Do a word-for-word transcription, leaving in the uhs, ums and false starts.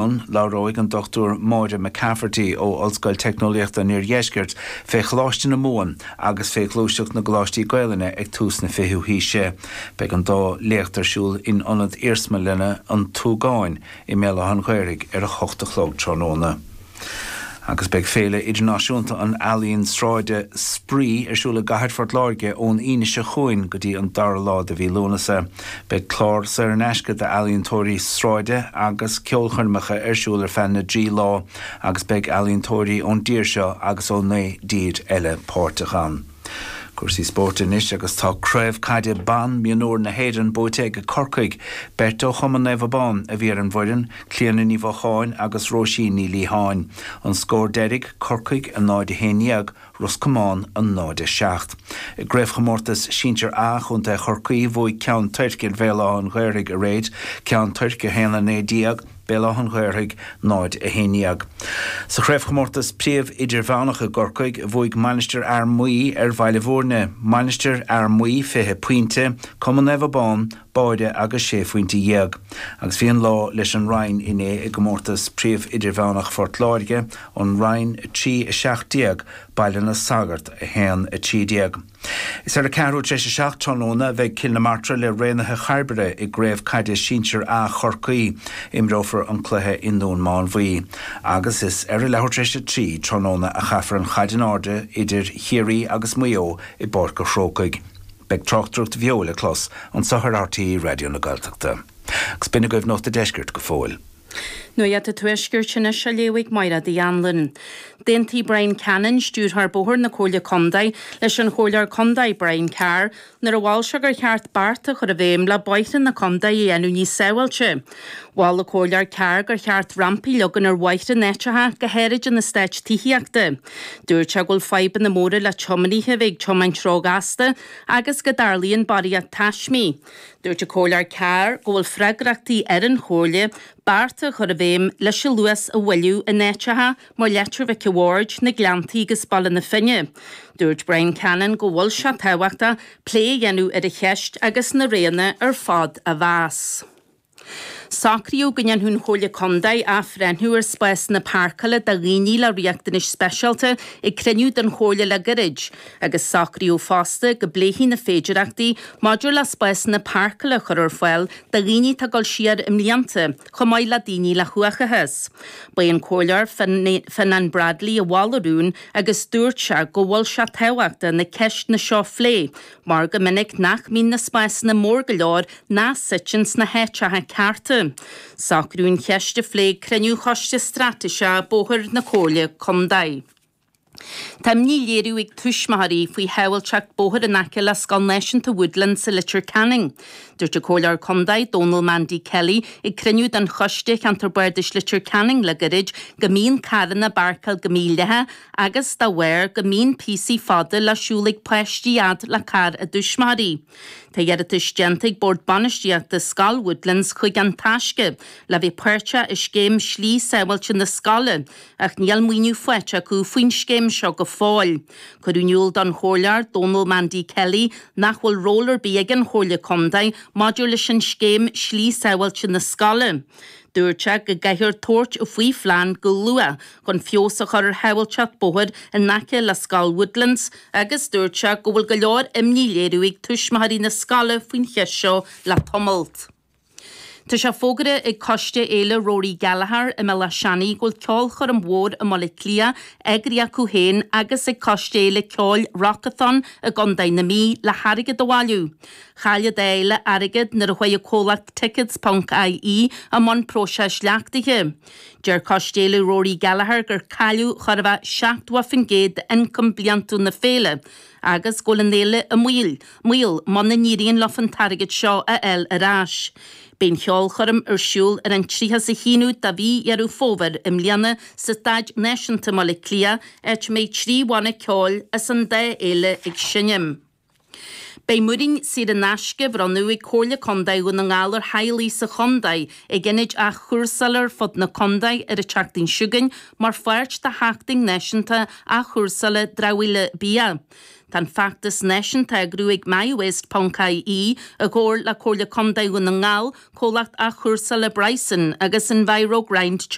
Labhróidh an Dr Máire McCafferty ó Ollscoil Teicneolaíochta an Iardheiscirt fé Choláiste na Mumhan agus fé ghluaiseacht na gColáistí Gaelainne ag tús na fichiú haoise. Beidh an dá léacht ar siúl in ionad iarsmalainne an Tuagáin i mBéal Átha an Ghaorthaidh ar a hocht a chlog tráthnóna. Agus beidh féile idirnáisiúnta an ealaíon sráide Spraoi ar siúl i gcathair Phort Láirge ón Aoine seo chugainn go dtí an dara lá de mhí Lúnasa. Beidh clár saor in aisce d'ealaíontóirí sráide agus ceolchoirmeacha ar siúl ar feadh na dtrí lá agus beidh ealaíontóirí ón dtír seo agus ó naoi dtír eile páirteach ann. Cúrsaí spóirt anois agus tá craobh caide ban mionúr na hÉireann buaite ag Corcaigh, beirt ó Chumann Naomh Abán a bhí ar an bhfoireann, Clíona Ní Mhocháin agus Róisín Ní Liatháin. An scór deiridh Corcaigh a náid a haon déag, Ros Comáin a náid a seacht. I gcraobhchomórtas Sinsir A Chontae Chorcaí bhuaigh Ceann Toirc ar Bhéal Átha an Ghaorthaidh aréir, Ceann Toirc a haon a naoi déag, Béal Átha an Ghaorthaidh náid a haon déag. Sa chraobhchomórtas príomh idirmheánach i gCorcaigh bhuaigh Mainistir Fhear Maí ar Bhaile Bhúirne, Mainistir Fhear Maí fiche pointe, Cumann Naomh Abán, Báire agus sé phointe dhéag. Agus bhí an lá leis an Rinn inné i gcomórtas príomh idirmheánach Phort Láirge, an Rinn trí a seacht déag, Baile na Sagart a haon a trí déag. Is ar a ceathrú tar éis a seacht tráthnóna a bheidh Cill na Martra le Raonaithe Chairbre i gcraobh caide sinsir A Chorcaí. Imreofar an cluiche i nDún Mánmhaí. Agus is ar a leathuair tar éis a trí tráthnóna a chaithfear an chaid in airde idir Chiarraí agus Maigh Eo i bPáirc an Chrócaigh. Beidh tráchtaireacht bheo le clos anseo ar RTÉ Raidió na Gaeltachta. Agus b'in agaibh Nuacht an Deiscirt go fóill. Nuacht an Tuaiscirt anois á léamh ag Máire Uí Anluain. D'aontaigh Brian Cannon, stiúrthóir bóthair na Comhairle Contae, leis an Chomhairleoir Contae Brian Carr nuair a mhol sé gur cheart bearta a chur i bhfeidhm le bóithre na contae a dhéanamh níos sábháilte. Mhol an Comhairleoir Carr gur cheart rampaí a leagan ar bhóithre in áiteacha, go háirid in eastáit tithíochta. Dúirt sé go bhfuil fadhbanna móra le tiománaithe a bheith ag tiomáint róghasta agus go dtarlaíonn barraíocht taismí. Dúirt an Comhairleoir Carr go bhfuil freagrachtaí ar an Chomhairle bearta a chur i bhfeidhm leis an luas a mhoilliú in áiteacha mar Leitir Mhic a' Bhaird, na Gleanntaí agus Baile na Finne. Dúirt Brian Cannon go bhfuil sé tábhachtach plé a dhéanamh ar an cheist agus na roghanna ar fad a mheas. Socraíodh go ndéanfadh an Chomhairle Contae athbhreithniú ar spásanna páirceála do dhaoine le riachtanais speisialta ag cruinniú den Chomhairle le gairid, agus socraíodh fosta go bpléifí na féidearthachtaí maidir le spásanna páirceála a chur ar fáil do dhaoine atá ag dul siar i mblianta, chomh maith le daoine le huathachas. Ba é an Comhairleoir Fionnán Bradley a mhol an rún agus dúirt sé go bhfuil sé tábhachtach na ceisteanna seo a phlé mar go minic nach mbíonn na spásanna mór go leor ná suite sna háiteacha cearta. Socraíodh an cheist a phlé ag cruinniú Choiste Straitéiseach Bóthair na Comhairle Contae. Tá imní á léiriú ag tuismitheoirí faoi shábháilteacht bóthair in aice le Scoil Náisiúnta Woodland sa Leitir Ceanainn. Dúirt an Comhairleoir Contae Dónal Mandy Kelly ag cruinniú den Choiste Cheantar Bardais Leitir Ceanainn le gairid go mbíonn carranna ag páirceáil go mídhleathach agus dá bharr go mbíonn píosaí fada le siúl ag páistí fhad le carr a dtuismitheoirí. Tá iarratas déanta ag Bord Bainistíochta Scoil Woodlands chuig An Taisce le bheith páirteach i scéim slí sábháilte na scoile, ach níl maoiniú faighte acu faoin scéim seo go fóill. Cuireadh in iúl don Chomhairleoir Dónal Mandy Kelly nach bhfuil ról ar bith ag an Chomhairle Contae maidir leis an scéim slí sábháilte na scoile. Dúirt sé go gcaithfear tabhairt faoi phlean go luath chun feabhas a chur ar shábháilteacht bóthair in aice le Scoil Woodlands agus dúirt sé go bhfuil go leor imní á léiriú ag tuismitheoirí na scoile faoin cheist seo le tamall. Tá sé fógartha ag Coiste Fhéile Rory Gallagher i mBéal Átha Seanaidh go bhfuil ceolchoirm mhór i mBaile Átha Cliath eagraithe acu féin agus ag Coiste Fhéile Ceoil Rockathon i gContae na Mí le hairgead a bhailiú. Chaill an dá fhéile airgead nuair a chuaigh an comhlacht Tickets.ie i mbun próiseas leachtaithe. Deir Coiste Fhéile Rory Gallagher gur cailleadh chóir a bheith seachtó faoin gcéad d'ioncam bliantúil na féile agus go bhfuil an fhéile i mbaol, mbaol muna n-éiríonn leo an t-airgead seo a fháil ar ais. Beidh an cheolchoirm ar siúl ar an tríocha a haonú de mhí Dheireadh Fómhair i mbliana sa Staid Náisiúnta i mBaile Átha Cliath, áit a mbeidh trí bhanna ceoil as an dá fhéile ag seinm. Beidh múirín saor in aisce á bhronnadh ag Comhairle Contae Dhún na nGall ar theaghlaigh sa chontae ag ionaid athchúrsála ar fud na contae ar an tseachtain seo chugainn mar pháirt de Sheachtain Náisiúnta Athchúrsála Dramhaíola Bia. Tá an feachtas náisiúnta á eagrú ag MyWaste ponc ie i gcomhar le Comhairle Contae Dhún na nGall, comhlacht athchúrsála Bryson agus Enviro Grind